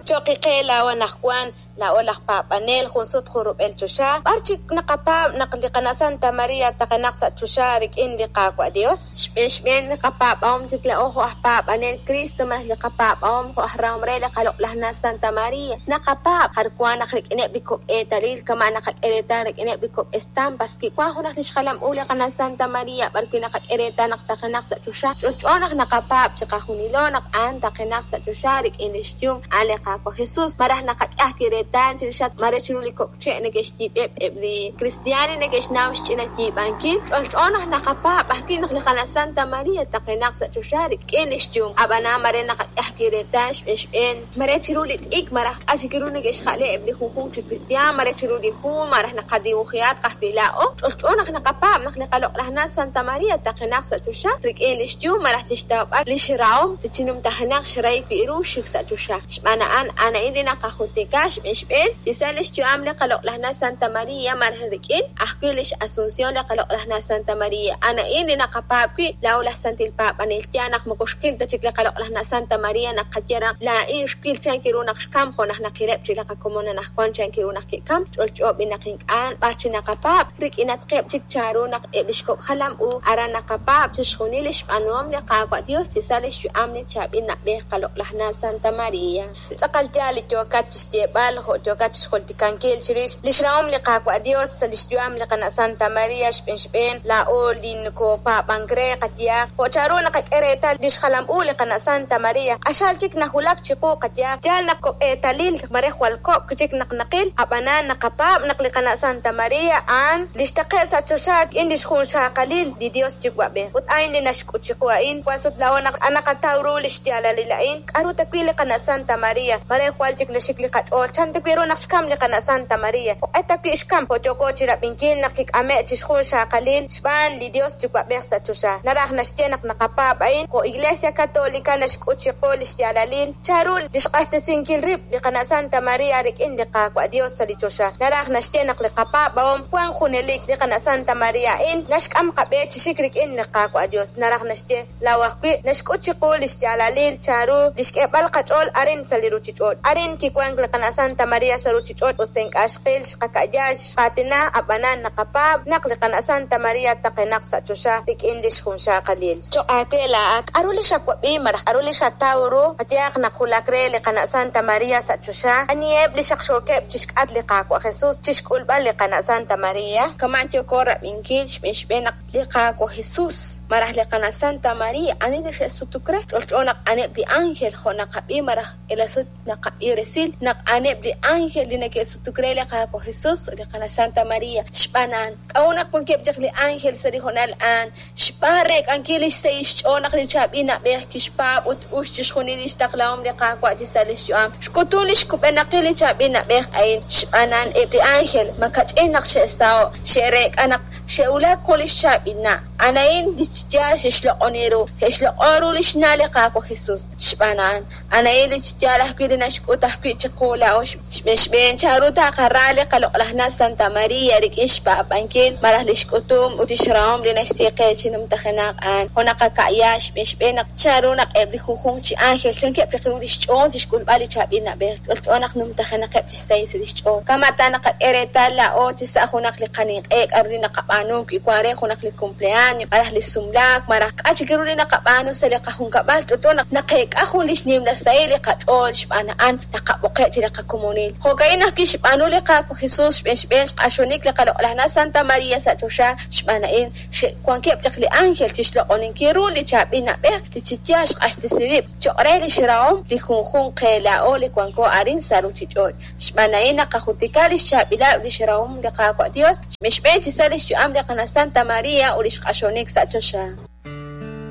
Cho'q qe laa'o anaqwan, laa'o laj paab'anel jun sut jun rub'el choxa, b'ar chik naqapaab' naq li qana' Santa Maria taqenaq sa' choxa rik'in li Qaawa' Dios? Xb'een xb'een li qapaab'ahom chik laa'o jo' aj paab'anel Cristo malaj li qapaab'ahom jo' aj rahom re li qaloq'laj na' Santa Maria. Naqapaab' jar wank naq rik'ineb' li kok' eetalil kama' naqak'e reetal rik'ineb' li kok' estampas wi wank junaq li xjalam u li qana' Santa Maria b'ar wi' naqak'e reetal naq taqenaq sa' choxa. Ch'olch'o naq naqapaab' chiqajunilo naq a'an taqenaq sa' choxa rik'in li xyum a'an li Qaawa' Jesus. Malaj naqak'e ajwi' reetal chirixatq mare chiru li kok' che' neke'xyiib'eb' eb' li kristiaan li neke'xnaw xch'ina yiib'ankil. Ch'olch'o naq naqapaab' ajwi' naq li qana' Santa Maria taqenaq sa' choxa rik'in li xyum. Ab'anan mare naqak'e ajwi' reetal xb'een xb'een mare chiru li t'ikr malaj k'a' chik ru neke'xja'le eb' li junjunq chi kristiaan, mare chiru li hu malaj naqadibujihatq ajwi' laa'o. Ch'olch'o naq naqapaab' naq li qaloq'laj na' Santa Maria taqenaq sa' choxa rik'in li xyum malaj chixtawb'al lix rahom li chi numtajenaq xrahil wi' ru xik sa' choxa. Xb'aan a'an, a'an a'in li naqajultika xb'een xb'een chi sa' lix yu'am li qaloq'laj na' Santa Maria malaj rik'in ajwi' lix Asunción li qaloq'laj na' Santa Maria. A'an a'in li naqapaab' wi' laa'o laj santil paab'anel. Yaal naq moko xqil ta chik li qaloq'laj na' Santa Maria naq qaye naq laa'in xwil chan ru naq xkam jo' naq naqileb' chik li qakomon anaqwan chan ru naq ke'kam. Ch'olch'o b'i naq ink'a' b'ar chi naqapaab' rik'inatqeb' chik chanru naq eb' lix kok' jalam u aran naqapaab' chixjunil lix b'aanuhom li Qaawa' Dios chi sa' lix yu'am li chaab'il na'b'ej qaloq'laj na' Santa Maria. Tz'aqal yaal li yookat chixyeeb'al jo' yookat chixjultikankil chirix lix rahom li Qaawa' Dios sa' lix yu'am li qana' Santa Maria xb'een xb'een laa'o li nokopaab'ank re qayehaq jo' chanru naqak'e reetal lix jalam u li qana' Santa Maria q'axal chik nawulak chiqu qayehaq yaal naq kok' eetalil mare jwal kok' chik naq naqil ab'anan naqapaab' naq li qana' Santa Maria a'an li xtaqe' sa' choxa rik'in lix junxaqalil li Dios Yuwa'b'ej ut a'in li naxk'ut chiqu a'in jwal sut laa'o naq naqataw ru lix yaalalil a'in k'aru ta wi' li qana' Santa Maria mare jwal chik naxik li qach'ool chan ta wi' ru naq xkam li qana' Santa Maria jo'q'e ta wi' xkam jo' yooko chirab'inkil naq kik'ame' chixjunxaqalil xb'aan li Dios Yuwa'b'ej sa' choxa naraj naxye naq naqapaab' a'in jo' Iglesia Católica naxk'ut chiqu lix yaalalil chanru lix q'axtesinkil rib' li qana' Santa Maria rik'in li Qaawa' Dios sa' li choxa naraj naxye naq li qapaab'ahom wank junelik li qana' Santa Maria a'in naxk'am qab'e chi xik rik'in li Qaawa' Dios naraj naxye laa'o ajwi' naxk'ut chiqu lix yaalalil chanru lix k'eeb'al qach'ool arin sa' li ruchich'och' arin kiwank li qana' Santa Maria sa' ruchich'och' us ta ink'a' xqil xqaka'ya xqaatina ab'anan naqapaab' naq li qana' Santa Maria taqenaq sa' choxa rik'in lix junxaqalil. Cho'q aawe laa'at k'aru li xawab'i malaj k'aru li xataw ru qayehaq naq wulak re li qana' Santa Maria sa' choxa aniheb' li xaqxookeb' chixk'atq li Qaawa' Jesus chixk'ulb'al li qana' Santa Maria? Kama' yooko rab'inkil xb'een xb'een naq li Qaawa' Jesus malaj li qana' Santa Maria ani li xe'sutuk re ch'olch'o naq a'aneb' li ángel jo' naqab'i malaj k'iila sut naqab'i resil naq a'aneb' li ángel li neke'sutuk re li Qaawa' Jesus ut li qana' Santa Maria xb'aan a'an. K'a'ut naq wankeb' chaq li ángel sa' li hoonal a'an? Xb'aan reek'ankil lix sahil xch'ool naq li chaab'il na'b'ej kixpaab' ut us chixjunil lix taqlahom li Qaawa' chi sa' lix yu'am. Xk'utun lix kub'enaqil li chaab'il na'b'ej a'in xb'aan a'an eb' li ángel makach'in naq xe'saho' xe'reek'a naq xe'wulak jun lix chaab'il na'. A'an a'in li yaal xe'xloq'oni ru, xe'xloq'on ru lix na' li Qaawa' Jesus. Xb'aan a'an, a'an a'in li yaal ajwi' li naxk'ut ajwi' chiqu laa'o xb'een xb'een chanru taqara li qaloq'laj na' Santa Maria rik'in xpaab'ankil malaj lix k'utum ut lix rahom li naxsi qe chi numtajenaq a'an. Jo' naqaka'ya xb'een xb'een naq chanru naq eb' li junjunq chi ángel chankeb' chaq ru lix ch'ool chixk'ulb'al li chaab'il na'b'ej, ch'olch'o naq numtajenaqeb' chi xsahil sa' lix ch'ool. Kama' ta naqak'e reetal laa'o chi sa' junaq li qaninq'e k'aru li naqab'aanu wi wan re junaq li cumpleaños malaj li sumlaak malaj k'a' chik ru li naqab'aanu sa' li qajunkab'al ch'olch'o naq naqeek'a jun lix nimla sahil li qach'ool xb'aan a'an naqab'oqe' chi li qakomonil. Jo'ka'in naq kixb'aanu li Qaawa' Jesus xb'een xb'een xq'axonik li qaloq'laj na' Santa Maria sa' choxa xb'aan a'in xe'wankeb' chaq li ángel chixloq'oninkil ru li chaab'il na'b'ej li chi yaal xq'axtesi rib' cho'q re lix rahom li junjunq qe laa'o li wanko arin sa' ruchich'och'. Xb'aan a'in naqajultika lix chaab'ilal ut lix rahom li Qaawa' Dios xb'een xb'een chi sa' lix yu'am li qana' Santa Maria ut lix q'axonik sa' choxa.